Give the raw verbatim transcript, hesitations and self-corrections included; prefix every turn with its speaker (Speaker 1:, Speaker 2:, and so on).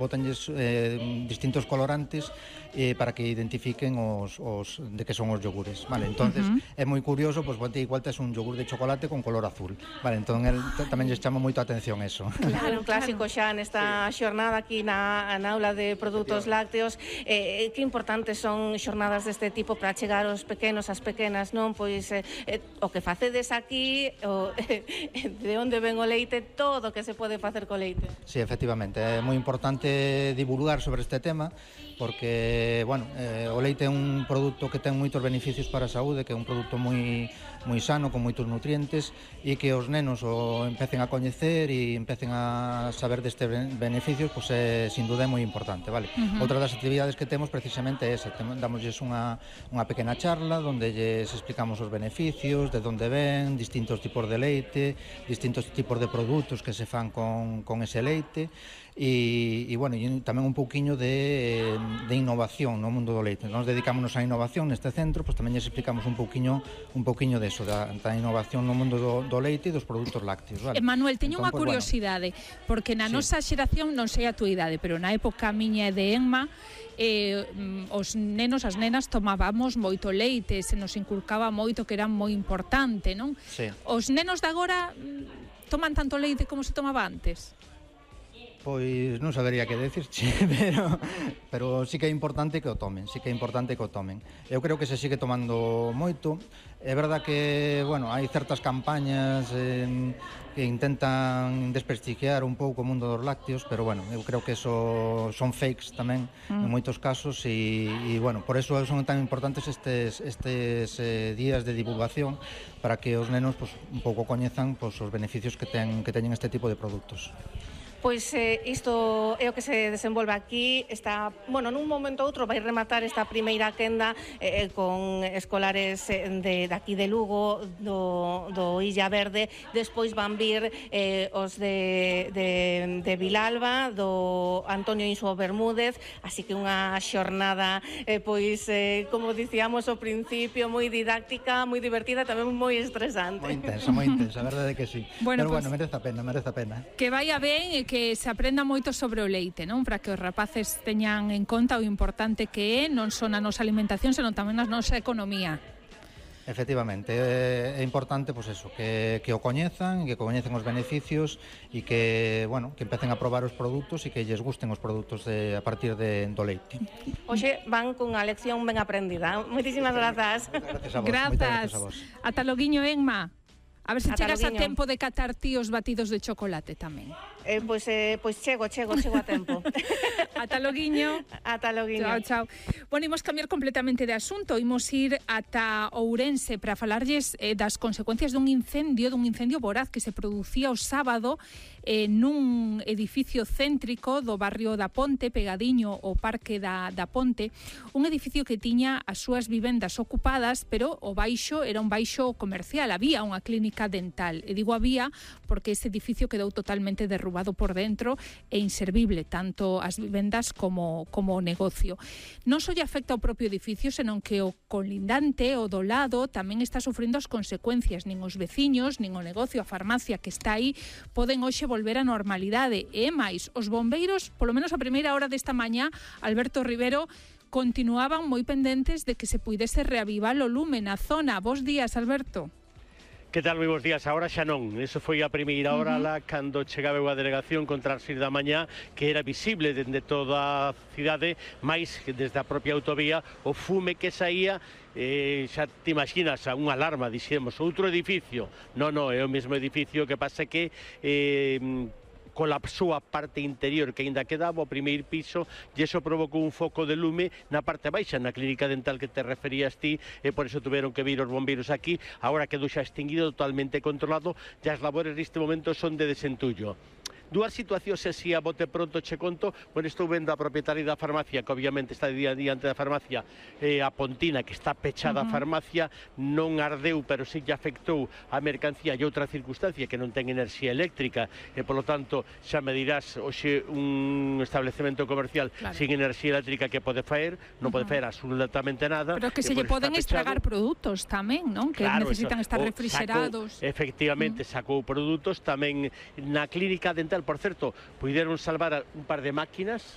Speaker 1: botanlles eh, distintos colorantes eh, para que identifiquen os, os de que son os yogures, vale? Entonces uh -huh. é moi curioso, pois pues, igual tes un yogur de chocolate con color azul, vale? Entón el, tamén lles chama moito a atención eso.
Speaker 2: Claro, un clásico xa nesta xornada aquí na, na aula de produtos lácteos. Eh, que importantes son xornadas deste tipo para chegar aos pequenos, as pequenas, non? Pois eh, eh, o que facedes aquí, o, eh, de onde ven o leite, todo o que se pode facer co leite.
Speaker 1: Sí, efectivamente, é moi importante divulgar sobre este tema porque, bueno, eh, o leite é un produto que ten moitos beneficios para a saúde, que é un produto moi moi sano, con moitos nutrientes, e que os nenos o empecen a coñecer e empecen a saber destes beneficios, pois é, sin duda é moi importante, vale? Uh -huh. Outra das actividades que temos precisamente é esa, damosles unha, unha pequena charla onde lles explicamos os beneficios, de onde ven, distintos tipos de leite, distintos tipos de produtos que se fan con, con ese leite, e, e bueno, e tamén un pouquiño de, de innovación no mundo do leite. Nos dedicámonos á innovación neste centro, pois tamén lles explicamos un pouquiño un pouquiño deso, da, da innovación no mundo do, do leite e dos produtos lácteos, vale?
Speaker 3: Manuel, teño
Speaker 1: entón,
Speaker 3: unha
Speaker 1: pues,
Speaker 3: curiosidade,
Speaker 1: bueno,
Speaker 3: porque na
Speaker 1: sí.
Speaker 3: nosa xeración, non sei a túa idade, pero na época miña e de Enma, eh, os nenos, as nenas tomábamos moito leite, se nos inculcaba moito que era moi importante, non?
Speaker 1: Sí.
Speaker 3: Os nenos de agora toman tanto leite como se tomaba antes?
Speaker 1: Pois non sabería que decirche, pero, pero sí que é importante que o tomen, sí que é importante que o tomen. Eu creo que se sigue tomando moito. É verdad que, bueno, hai certas campañas eh, que intentan desprestigiar un pouco o mundo dos lácteos, pero, bueno, eu creo que eso son fakes tamén, mm. en moitos casos, e, e, bueno, por eso son tan importantes estes, estes eh, días de divulgación para que os nenos, pues, un pouco coñezan, pues, os beneficios que, ten, que teñen este tipo de produtos.
Speaker 2: Pois eh, isto é o que se desenvolve aquí. Está, bueno, nun momento ou outro vai rematar esta primeira quenda eh, con escolares de, de aquí de Lugo, do, do Illa Verde. Despois van vir eh, os de, de, de Vilalba, do Antonio Insuo Bermúdez, así que unha xornada eh, pois, eh, como dicíamos ao principio, moi didáctica, moi divertida, tamén moi estresante.
Speaker 1: Moi intensa, moi intensa, a verdade é que sí.
Speaker 3: Bueno,
Speaker 1: pero
Speaker 3: pues,
Speaker 1: bueno, merece a pena, merece a pena.
Speaker 3: Que vaya ben e que se aprenda moito sobre o leite, non? Para que os rapaces teñan en conta o importante que é non só na nosa alimentación, senón tamén na nosa economía.
Speaker 1: Efectivamente, é importante, pois eso, que, que o coñezan, que coñecen os beneficios e que, bueno, que empecen a probar os produtos e que lles gusten os produtos de, a partir de, do leite.
Speaker 2: Hoxe van cunha lección ben aprendida. Moitísimas grazas.
Speaker 1: Gracias a vos.
Speaker 3: Grazas.
Speaker 1: Gracias a vos.
Speaker 3: Ata loguiño, Enma. A ver se
Speaker 2: Ata
Speaker 3: chegas
Speaker 2: loguiño.
Speaker 3: a tempo de catar ti os batidos de chocolate tamén.
Speaker 2: Eh, pois, eh, pois chego, chego, chego a tempo.
Speaker 3: Ata loguiño.
Speaker 2: Ata loguiño.
Speaker 3: Chao, chao. Bueno, imos cambiar completamente de asunto. Imos ir ata Ourense para falarlles eh, das consecuencias dun incendio, dun incendio voraz que se producía o sábado eh, nun edificio céntrico do barrio da Ponte, pegadiño ao Parque da, da Ponte, un edificio que tiña as súas vivendas ocupadas, pero o baixo era un baixo comercial, había unha clínica dental. E digo había porque ese edificio quedou totalmente derrubado por dentro e inservible, tanto as vivendas como, como o negocio. Non só lle afecta ao propio edificio, senón que o colindante, o do lado, tamén está sufrindo as consecuencias. Nin os veciños, nin o negocio, a farmacia que está aí, poden hoxe volver á normalidade. E máis, os bombeiros, polo menos a primeira hora desta mañá, Alberto Rivero, continuaban moi pendentes de que se puidese reavivar o lume na zona. Bos días, Alberto.
Speaker 4: Que tal, moi bons días? Agora xa non. Eso foi a primeira hora uh -huh. lá cando chegaba a delegación contra as seis da mañá, que era visible dende toda a cidade, máis desde a propia autovía, o fume que saía. Eh, xa te imaginas a unha alarma, dixemos, outro edificio. Non, non, é o mesmo edificio, que pasa que eh, colapsou a parte interior que aínda quedaba, o primeiro piso, e iso provocou un foco de lume na parte baixa, na clínica dental que te referías ti, e por iso tuveron que vir os bombeiros aquí. Agora quedou xa extinguido, totalmente controlado, e as labores neste momento son de desentullo. Dúas situacións así a bote pronto che conto. Bueno, estou vendo a propietaria da farmacia, que obviamente está día a diante da farmacia, eh, a Pontina, que está pechada uh -huh. a farmacia, non ardeu, pero sí que afectou a mercancía e outra circunstancia, que non ten enerxía eléctrica, e polo tanto xa me dirás, hoxe un establecemento comercial claro. sin enerxía eléctrica que pode faer, non uh -huh. pode faer absolutamente nada.
Speaker 3: Pero que se lle poden estragar produtos tamén, non? Que
Speaker 4: claro,
Speaker 3: necesitan
Speaker 4: eso,
Speaker 3: estar refrigerados.
Speaker 4: Sacou, efectivamente, uh -huh. sacou produtos tamén na clínica dental. Por certo, puideron salvar un par de máquinas,